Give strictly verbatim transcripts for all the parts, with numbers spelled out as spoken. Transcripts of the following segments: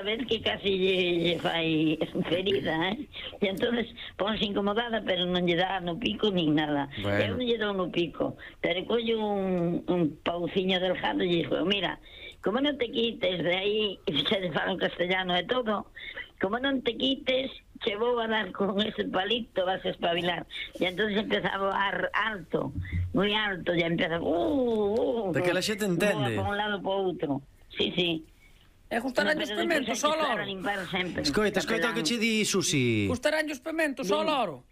a ver que casi lle, lle fai ferida, eh? E entonces ponse incomodada, pero non lle dá no pico nin nada. Bueno. Eu non lle dou no pico, pero collo un, un pauciño delgado e lle digo, mira, como non te quites de aí, xa te falo en castellano e todo, como non te quites, che vou a dar con ese palito, vas a espabilar. E entonces empeza a voar alto, moi alto, e empeza, uh, uh, de que la xente entende. Voa por un lado por outro. Sí, sí. E gustarán os pementos ao loro? Escoita, escoita o que che di Susi. Gustarán os pementos ao loro?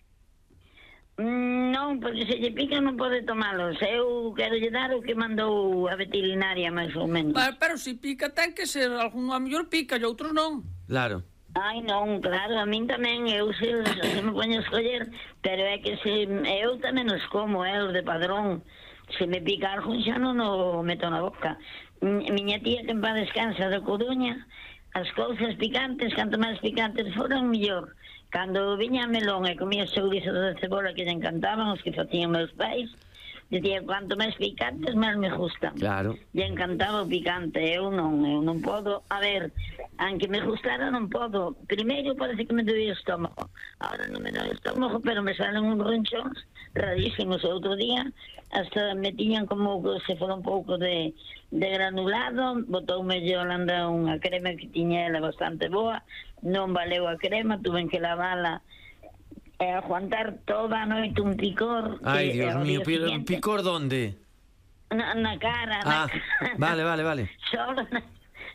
Non, porque se lle pica non pode tomalos. Eu quero lle dar o que mandou a veterinaria, máis ou menos. Pero, pero se pica ten que ser, algún a mellor pica e outros non. Claro. Ai, non, claro, a min tamén, eu se, se me poño a escoller, pero é que se eu tamén os como, eh, os de padrón. Se me pica algo xa non o meto na boca. Miña tía que en paz descansa da Coruña, as cousas picantes, canto máis picantes foran, mellor. Cando viña a melón e comía os chouriços de cebola que lle encantaban, os que facían meus pais, dicía, cuanto máis picantes, máis me gustan. Claro. Lle encantaba o picante, eu non, eu non podo. A ver, aunque me gustara non podo. Primeiro parece que me doía o estómago. Ahora non me doía o estómago, pero me salen uns ronchóns rarísimos. Outro día hasta me tiñan como que se fora un pouco de, de granulado, botoume Yolanda unha crema que tiña ela bastante boa, non valeu a crema, tuve que lavala e aguantar toda a noite un picor. Ai, que, Dios mío, siguiente, picor donde? Na, na cara, na Ah, cara. vale, vale, vale. Solo na,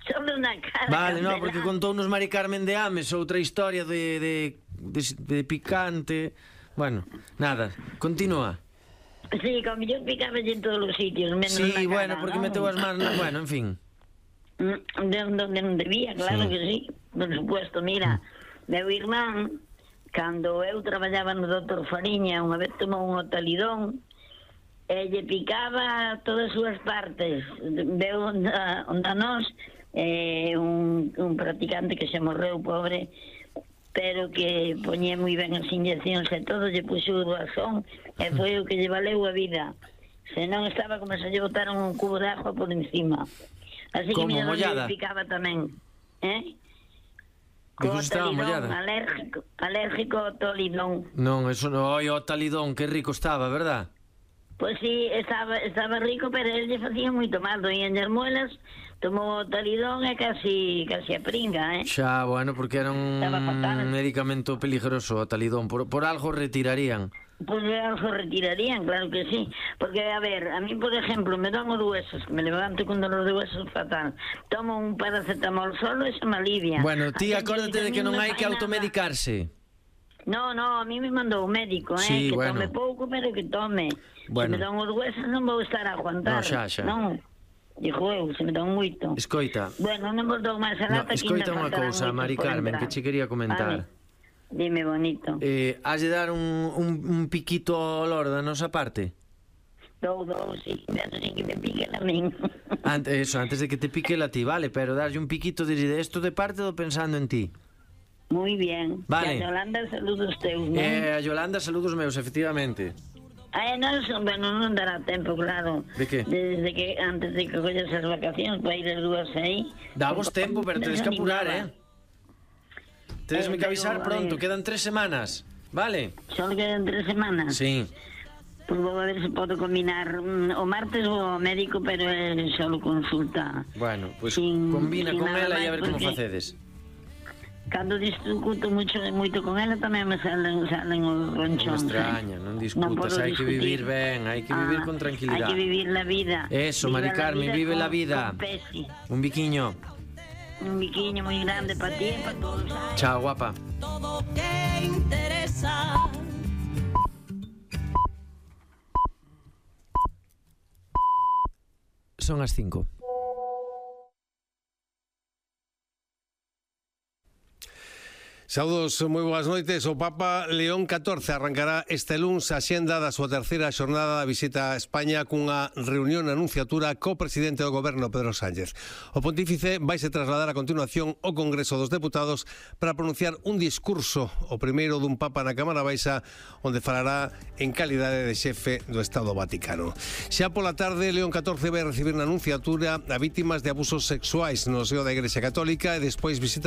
solo na cara. Vale, no, Candelán. porque contounos Mari Carmen de Ames outra historia de, de, de, de picante. Bueno, nada, continúa. Sí, como yo picaba en todos os sitios, menos Sí, na cara, bueno, porque ¿no? meteu as manos, bueno, en fin. De donde non debía, claro Sí. que sí, por supuesto. Mira, meu irmán, cando eu traballaba no doutor Fariña, unha vez tomou un otalidón e lle picaba todas as súas partes. Veu onda, onda nós eh, un, un practicante que se morreu, pobre, pero que poñía moi ben as inyeccións e todo, lle puxo o razón e foi o que lle valeu a vida. Se non estaba como se lle botaron un cubo de agua por encima. Así que Como, mira, mollada? lle picaba tamén, eh? Digo, Co estaba talidón, mollada. alérgico, alérgico ao tolidón. Non, eso non, oi, o talidón, que rico estaba, verdad? Pois sí, estaba, estaba rico, pero él lle facía moito mal, doían as muelas, tomou o talidón e casi, casi a pringa, eh? Xa, bueno, porque era un Estaba fatal. medicamento peligroso o talidón, por, por algo retirarían. Pois algo retirarían, claro que sí. Porque, a ver, a mí, por ejemplo, me dan os huesos, me levanto con dolor de huesos fatal. Tomo un paracetamol solo e se me alivia. Bueno, ti Así acórdate de que a mí non me hai fai que nada. automedicarse. No, no, a mí me mandou un médico, eh, Sí, que bueno. tome pouco, pero que tome. Bueno. Se me dan os huesos non vou estar a aguantar. No, xa, xa. Non, dixo eu, se me dan moito. Escoita, Bueno, non vos dou máis a no, lata, que escoita ainda unha faltarán cousa, moitos Mari por Carmen, entrar. que che quería comentar. Vale. Dime, bonito. Eh, has de dar un, un, un piquito ao loro da nosa parte? Dou, dou, sí, pero sin que me piquen a min. Antes, eso, antes de que te pique la ti, vale, pero darlle un piquito de esto de parte do pensando en ti. Muy bien. Vale. E a Yolanda, saludos teus, non? Eh, a Yolanda, saludos meus, efectivamente. Ai, non, son- bueno, non dará tempo, claro. De que? Desde que, antes de que collas as vacacións para ir as dúas aí. Damos tempo, pero tedes que apurar, eh? Tedesme Eh, que avisar pero, pronto, eh, quedan tres semanas, vale? Só quedan tres semanas. Sí. Pois vou a ver se podo combinar. mm, O martes vou ao médico, pero é só consulta. Bueno, pois Sin- combina sin con nada ela e a máis, ver como porque- facedes. Cando discuto mucho, moito con ela tamén me salen, salen os Non me ronchóns. extraña, non discutas, podo hai que vivir discutir. ben, hai que vivir Ah, con tranquilidade. Hai que vivir la vida. Eso, Mari Viva la Carmen, vida vive con- la vida. con pesi. Un biquiño. Un biquiño moi grande para ti e para todos. Chao, guapa. Todo que interesa. Son as cinco. Saúdos, moi boas noites. O Papa León catorce arrancará este luns a xenda da súa terceira xornada da visita a España cunha reunión na anunciatura co presidente do goberno, Pedro Sánchez. O pontífice vaise trasladar a continuación ao Congreso dos Deputados para pronunciar un discurso, o primeiro dun Papa na Cámara Baixa, onde falará en calidade de xefe do Estado Vaticano. Xa pola tarde, León catorce vai recibir na anunciatura a vítimas de abusos sexuais no seo da Igrexa Católica e despois visita